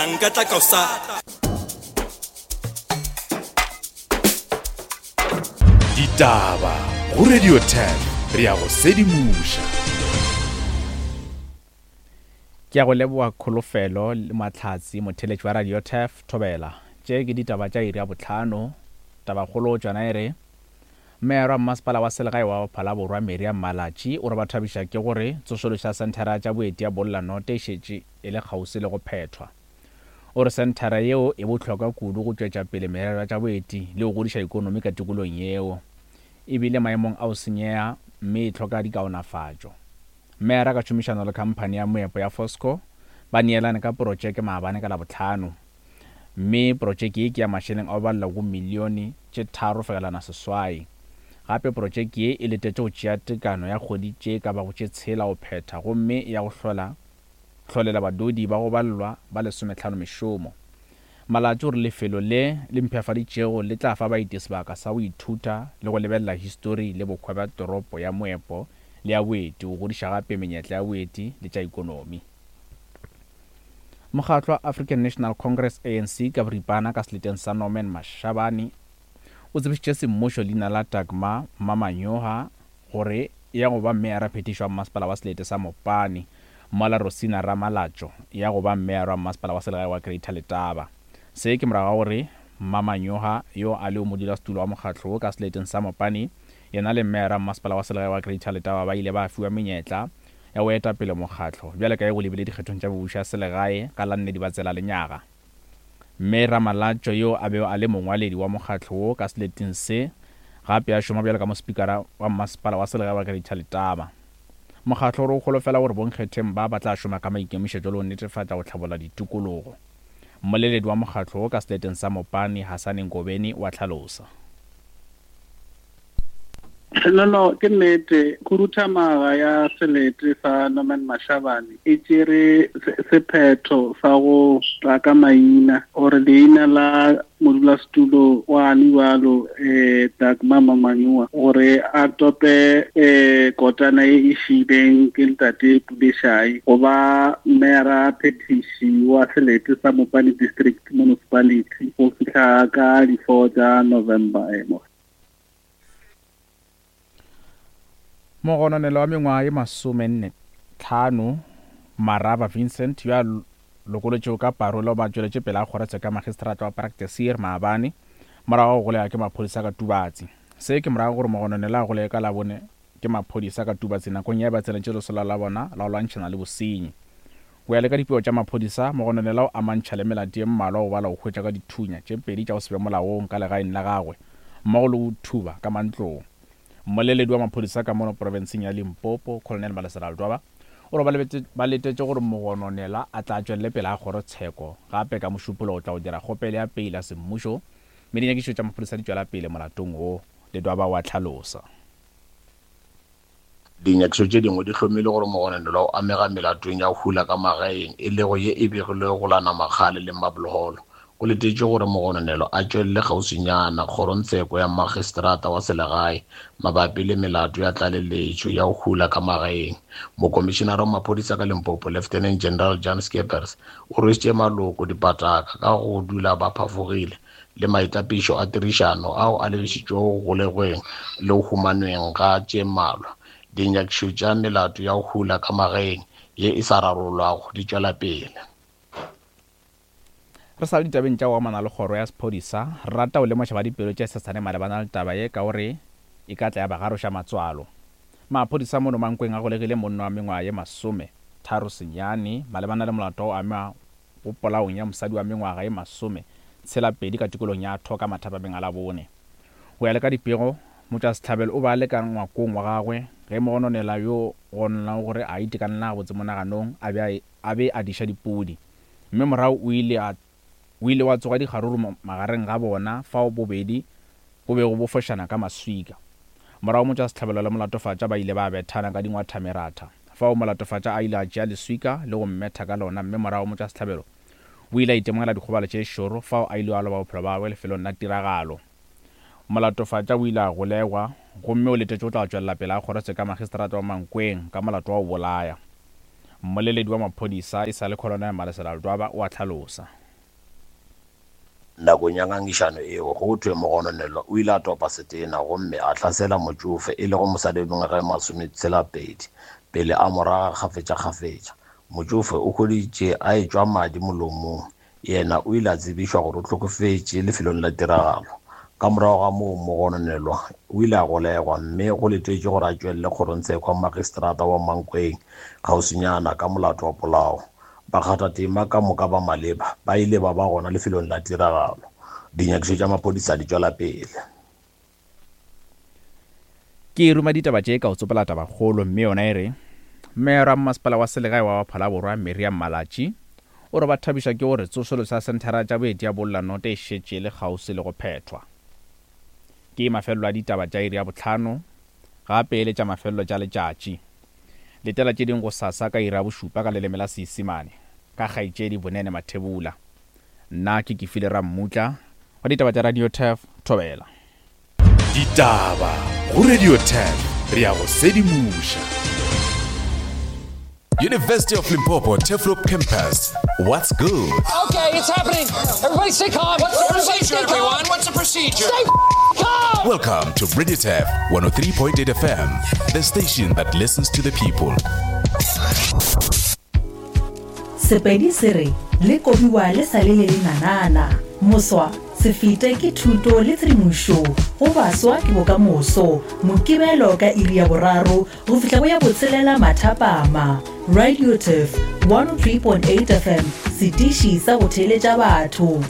Nka tla ka o sa. Ditaba go Radio 10 re ya go sedimoša. Ke a go leboga Kholofelo le Mahlatse motheeletši wa Radio Turf Thobela. Tše ke ditaba tša iri ya bohlano. Tabakgolo tšona e re, Meyara wa mmasepala wa selegae wa Phalaborwa Miriam Malatji o re ba thabiša ke gore tsošološo ya senthara ya tša boeti ya Bolla Note e šetše e le kgauswi le go phethwa. O re senthara yeo e bohlokwa kudu go tšwetša pele merero ya tša boeti le go godiša ikonomi ka tikolong yeo. E bile maemong a go senyega mme e hloka dikaonafatšo. Meyara ka tšhomišano le khamphani ya moepo ya Fosco ba neelane ka porotšeke maabane ka Labohlano. Mme porotšeke ye ke ya mašeleng a go balelwa go milione tše 3.8. Gape porotšeke ye e letetše go tšea tekano ya kgwedi tše ka bago tše tshela go phetha gomme e ya go hlola hlolela badudi ba go balelwa ba lesomehlano mešomo. Malatji o re lefelo le le mpshafaditšego le tla fa baeti sebaka sa go ithuta le go lebelela histori le bohwa bja toropo ya moepo le ya boeti go godiša gape menyetla ya boeti le tša ikonomi. Mokgatlo wa African National Congress, ANC, ka boripana ka seleteng sa Norman Mashabane o tsebišitše semmušo leina la Dagmar Mmamanyoha gore e ya go ba meyara phethišo wa mmasepala wa selete sa Mopani mola Rosina Ramalatšo e ya go ba meyara wa mmasepala wa selegae wa Greater Letaba. Se ke morago ga gore Mmamanyoha yo a lego modulasetulo wa mokgatlo wo ka seleteng sa Mopani yena le meyara wa mmasepala wa selegae wa Greater Letaba ba ile ba fiwa menyetla ya go eta pele mokgatlo bjale ka ge go lebile dikgethong tša mebušo ya selegae ka la nne Dibatsela lenyaga. Mme Ramalatšo yo a bego a le mongwaledi wa mokgatlo wo ka seleteng se, gape a šoma bjalo ka mospikara wa mmasepala wa selegae wa Greater Letaba. Mokgatlo o re o holofela gore bonkgetheng ba ba tla šoma ka maikemišetšo le go netefatša go hlabolla ditikologo. Mmoleledi wa mokgatlo wo ka seleteng sa Mopani, Hasane Ngobeni o a hlalosa. No, no, ke nnete. Khuduthamaga ya selete sa Norman Mashabane e tšere sephetho sa go tla ka maina gore leina la modulasetulo wa bjalo um Dagmar Mamanyua gore a tope um kotana ye e šiileng ke ntate Pulešai go ba meyara phethiši wa selete sa Mopani District Municipality go fihla ka di-four tša November. Mogononelwa wa mengwaga ye masomennetlhano, Maraba Vincent, yo a lokolotšwego ka parole o ba tšweletše pele ga kgorotsheko ya magistrata wa Praktiseer maabane morago ga go golega ke maphodisa ka Tubatse. Se ke morago ga gore mogononelwa a golege ka Labone ke maphodisa ka Tubatse nakong ya ba tsenetše lesolo la bona la go lwantšhana le bosenyi. Go ya le ka dipego tša maphodisa, mogononelwa o amantšha le melato ye mmalwa go bala go hwetšwa ka dithunya tše pedi tša go se be molaong ka legaeng la gagwe mmogo le go thuba ka mantlong. Mmoleledi wa maphodisa ka mono profenseng ya Limpopo, Colonel Malesela Ledwaba, o re ba letetše gore mogononelwa a tla tšwelele pele ga kgorotsheko gape ka Mošupologo go tla go dira kgopelo ya peile ya semmušo mme dinyakišišo tša maphodisa di tšwela pele molatong wo, Ledwaba o a hlalosa. Dinyakišo tše dingwe di hlomile gore mogononelwa o amega melatong ya go hula ka magaeng, e lego ye e begilwego go la Namakgale le Marble Hall. Go letetšwe gore mogononelwa a tšwelele kgauswinyana kgorongtsheko ya magistrata wa selegae mabapi le melato ya tlaleletšo ya go hula ka magaeng. Mokomišenara wa maphodisa ka Limpopo, Lieutenant General Jan Scheepers, o rwešitše maloko dipataka ka go dula ba phafogile le maitapišo a tirišano ao a lebišitšwego go golegweng le go humanweng ga tše mmalwa. Dinyakišo tša melato ya go hula ka magaeng ye e sa rarollwago di tšwela pele. Re sa le ditabeng tša go amana le kgoro ya sephodisa, re rata go lemoša ba dipelo tše sesane malebana le taba ye ka gore e ka tla ya ba garoša matswalo. Maphodisa mono Mankweng a golegile monna wa mengwaga ye 39 malebana le molato wa go ama go polaong ya mosadi wa mengwaga ye 62 ka tikolong ya Thoka mathapameng a Labone. Go ya le ka dipego, motšwasehlabelo o be a le ka ngwakong wa gagwe ge mogononelwa yo gononelago gore a itekanela gabotse monaganong a be a be a diša dipudi mme morago o ile a o ile wa tsoga dikgaruru magareng ga bona fao bobedi bo bego bo fošana ka maswika. Morago motšwasehlabelo le molatofatša ba ile ba bethana ka dingwathameratha. Fao molatofatša a ile a tšea leswika le go mmetha ka lona mme morago motšwasehlabelo o ile a itemogela dikgobalo tše šoro fao a ilego a loba bophelo bja gagwe lefelong la tiragalo. Molatofatša o ile a golegwa gomme o letetše go tla tšwelela pele ga kgorotsheko ya magistrata wa Mankweng ka molato wa go bolaya. Mmoleledi wa maphodisa e sa le Colonel Malesela Ledwaba o a hlalosa. Nakong ya ngangišano eo, go thwe mogononelwa o ile a topa setena gomme a hlasela motšofe, e lego mosadi wa mengwaga e masometshela-pedi, pele a mo raga kgafetšakgafetša. Motšofe o hweditše a etšwa madi molomong. Yena o ile a tsebišwa gore o hlokofetše lefelong la tiragalo. Ka morago ga moo, mogononelwa o ile a golegwa mme go letetšwe gore a tšwelele kgorongtsheko ya magistrata wa Mankweng kgauswinyana ka molato wa polao. Bakgathatema ka moka ba maleba ba ile ba ba gona lefelong la tiragalo. Dinyakišo tša maphodisa di tšwela pele. Ke ruma ditaba tše ka go tsopola tabakgolo mme yona e re, Meyara wa Mmasepala wa Selegae wa Phalaborwa Miriam Malatji o re ba thabišwa ke gore tsošološo ya senthara tša boeti ya Bollanote e šetše e le kgauswi le go phethwa. Ke mafelelo a ditaba tša iri ya bohlano gape e le tša mafelelo tša letšatši. Letela tše dingwe gosasa ka iri ya bošupa ka leleme la Seisemane ka kgaetšedi Bonene Mathebula. Nna ke Kefile Rammutla wa ditaba tša Radio Turf, Thobela. Ditaba go Radio Turf, re a go sedimoša. University of Limpopo Turfloop Campus. What's good? Okay, it's happening. Everybody stay calm. What's the Everybody procedure, stay calm. everyone? What's the procedure? Stay calm. Welcome to Radio Turf 103.8 FM, the station that listens to the people. Sepedi se re, Le kobiwa le sa le le lenanana. Moswa, se fete ke thuto le tshedimošo go baswa ke bokamoso. Mokibelo ka iri ya boraro go fihla go ya botshelela mathapama. Radio Turf 103.8 FM, setiši sa go theeletša batho.